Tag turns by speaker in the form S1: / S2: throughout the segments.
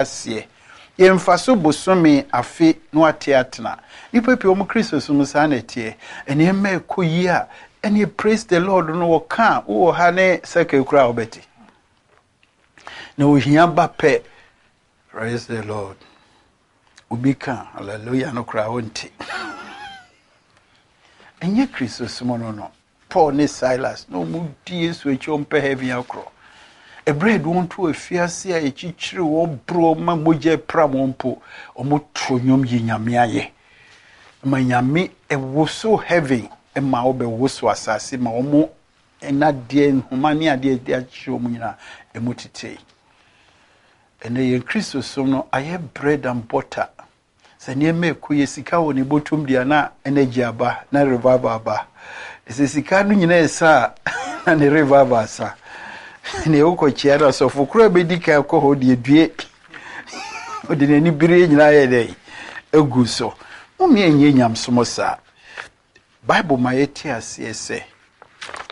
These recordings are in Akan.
S1: Aseɛ. Yɛmfa so bosome, afe, na wate atena. Nnipa pii wɔn Kristosom saa na ɛteɛ. Nneɛma ɛkɔ yie a, ɛneɛ praise the Lord no wɔka a, wowɔ ha ne sɛkɛ koraa a wobɛte. Na ohia ba pɛ, praise the Lord. Obi ka hallelujah no koraa wonte. Ɛnyɛ Kristosom no no. Paul ne Silas na wɔdi Yesu akyi wɔmpɛ heaven akorɔ. Ɛberɛ a yɛde wɔn to afiase a yɛkyikyiri wɔn boro wɔn ma mogya pram wɔn mpo, wɔto nnwom yi Nyame ayɛ. Ma Nyame ɛwoso heaven ma wɔbɛwoso asase ma wɔn nnadeɛ nhoma ne adeɛ de akyekyere wɔn nyinaa ɛmu tetee. Ɛnɛ yɛn Kristosom no ayɛ bread and butter. Sɛ nneɛma ɛkɔ yie, sika wɔ ne bɔtɔm deɛ na energy aba, na revival aba. Sɛ sika no nyinaa ɛsa a, na ne revival asa. Nea wokɔkyia no asɔfo koraa bɛdi kan kɔ hɔ deɛ due. Ɔde n'ani bere nyinaa yɛ dɛn? Egu so. Momma ɛnyɛ nyamesom saa. Bible ma yɛte aseɛ sɛ,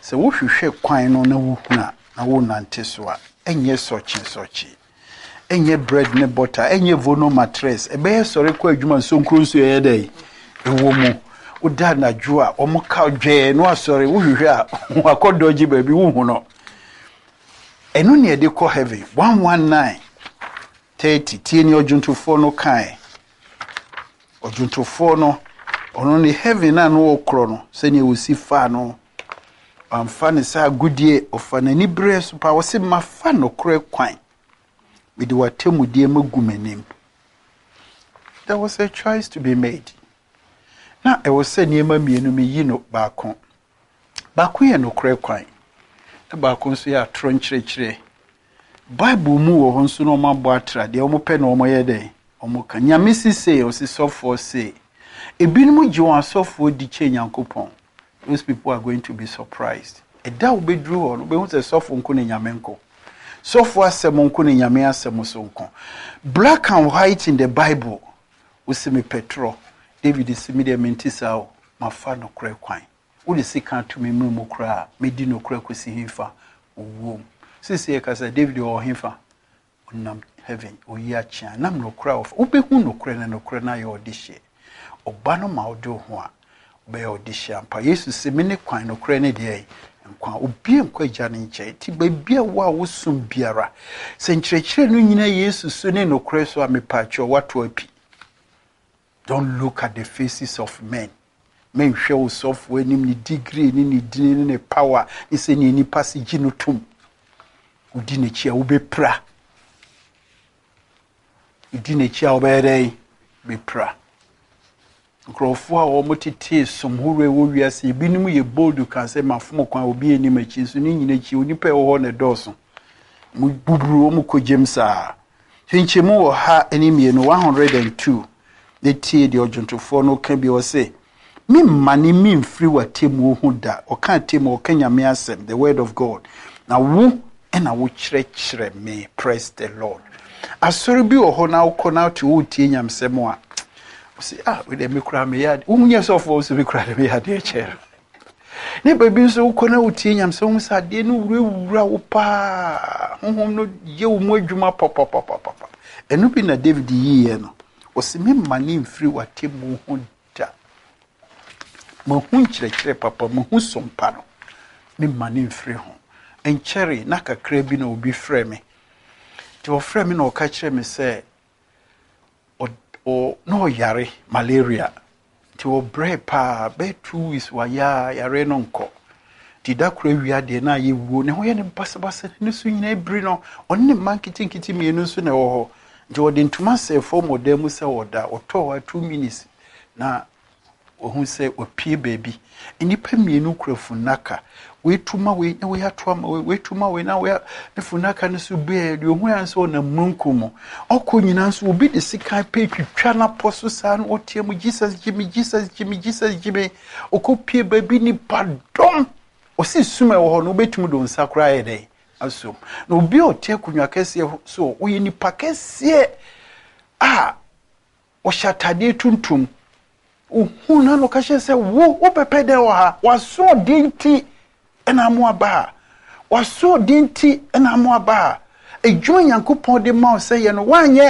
S1: sɛ wohwehwɛ kwan no na wohunu a, na wonante so a, ɛnyɛ sɔkye-sɔkye, ɛnyɛ bread ne butter, ɛnyɛ vono matress, ɛbɛyɛ sɔre kɔ adwuma nsonkuro nso ɛyɛ dɛ ɛwɔ mu. Woda anadwo a, wɔn ka dwɛɛ no asɔre, wohwehwɛ a, wakɔ dɔgye baabi wohu no. Ɛno ne ɛde kɔ heaven. 119 30 tie ne ɔdwontofoɔ no kae. Ɔdwontofoɔ no, ɔno ne heaven a na ɔkorɔ no, sɛnea wɔsi faa no, wamfa ne sɛ agodie, ɔfa n'ani berɛ so paa, ɔse mafa nokorɛ kwan, mede w'atemmudeɛ magu m'anim. There was a choice to be made. Na ɛwɔ sɛ nneɛma mmienu meyi no baako. Baako yɛ nokorɛ kwan, na baako nso yɛ atorɔ nkyerɛkyerɛ. Bible mu wɔ hɔ nso na wɔabɔ atra deɛ wɔpɛ na wɔyɛ dɛn? Wɔka. Nyame se sei, ɔse sɔfoɔ sei. Ebinom gye wɔn asɔfoɔ di kyɛn Nyankopɔn. Those people are going to be surprised. Ɛda a wobɛduru hɔ no, wobɛhu sɛ sɔfo nko ne Nyame nko. Sɔfo asɛm nko ne Nyame asɛm so nko. Black and white in the Bible. Wose mepɛ torɔ. David se me deɛ mente saa o, mafa nokorɛ kwan. Wode sekan to me mmerɛ mu koraa a, mɛdi nokorɛ kɔsi hefa? Owuo mu. Seesei yɛkasa, David ɔwɔ hefa? Ɔnam heaven, ɔyi akyea. Nam nokorɛ a ɔfa. Wobɛhu nokorɛ na nokorɛ no ayɛ ɔdehyeɛ. Ɔba no ma wode wo ho a, wobɛyɛ ɔdehyeɛ ampa. Yesu se, mene kwan, nokorɛ ne deɛ nkwa. Obi nkɔ Agya no nkyɛn. Nti baabi a wo a wosom biara, sɛ nkyerɛkyerɛ no nyina Yesu so ne nokorɛ so a, mepaakyɛw, woato api. Don't look at the faces of men. Menhwɛ wo sɔfo anim, ne degree ne ne dini ne ne power ne sɛnea nipa se gye no tom. Wodi n'akyi a wobɛpira. Wodi n'akyi a wobɛyɛ dɛn? Bɛpira. Nkurɔfoɔ a wɔtetee som horoɔ ɛwɔ wiase, ebinom yɛ bold ka sɛ mafom kwan, obi anim akyi, nso ne nyina akyi onipa ɛwɔ hɔ na ɛdɔɔso. Mo buburu wɔn kɔ gyam saa. Nkyɛmu wɔ ha ne mmienu, 102. Ne tie deɛ ɔdwontofoɔ no ka bi, ɔse, memmane memfiri w'atemmuo ho da. Ɔka atemmuo, ɔka Nyame asɛm, the word of God. Na wo ɛna wokyerɛkyerɛ me. Praise the Lord. Asɔre bi wɔ hɔ na wokɔ na wote wotie nyamsɛm a, ɔse, ah, wei deɛ me koraa meyɛ adeɛ. Wonyɛ sɔfoɔ nso me koraa deɛ meyɛ adeɛ kyɛɛ no. Ne baabi nso wokɔ na wotie nyamsɛm, wohu sɛ adeɛ no wurawura wo paa. Honhom no yɛ wo mu adwuma papapapapa. Ɛno bi na David yiiɛ no. Ɔse, memmane mfiri w'atemmuo ho da. Mahu nkyerɛkyerɛ papa, mahu sompa no. Memmane mfiri ho. Nkyɛre na kakra bi na obi frɛ me. Nti ɔfrɛ me na ɔka kyerɛ me sɛ na ɔyare malaria. Nti ɔbrɛ paa, bɛyɛ 2 weeks wayɛ a yare no nkɔ. Nti da koro awia deɛ na ayɛ wuo, ne ho yɛ ne basabasa, ne so nyinaa biri no. Ɔne ne mma nketenkete mmienu nso na ɛwɔ hɔ. Nti ɔde ntoma sɛɛ fam wɔ dan mu sɛ ɔda. Ɔtɔɔ hɔ a 2 minutes na ɔhu sɛ wapue baabi. Nnipa mmienu kura funnaka. Wei tu ma wei na wei ato ama wei, wei tu ma wei na wei ne funnaka no so bue deɛ ohu ya nso ɔnam mununkum mu. Ɔkɔ nyinaa nso obi de sekan pɛ twitwa n'apɔ so saa na ɔteɛ mu, Jesus gye me, Jesus gye me, Jesus gye me. Ɔkɔ pie baabi nipa dɔm. Ɔsi sum a ɛwɔ hɔ no wobɛtumi de wo nsa koraa ayɛ dɛn asom. Na obi a ɔte akonnwa kɛseɛ so ɔyɛ nipa kɛseɛ a ɔhyɛ atadeɛ tuntum. Ohun na no ka kyerɛ sɛ wo wobɛpɛ dɛn wɔ ha? W'asoɔden nti ɛna amo aba ha. W'asoɔden nti ɛna amo aba ha. Adwuma Nyankopɔn de ma wo sɛ yɛ no woanyɛ.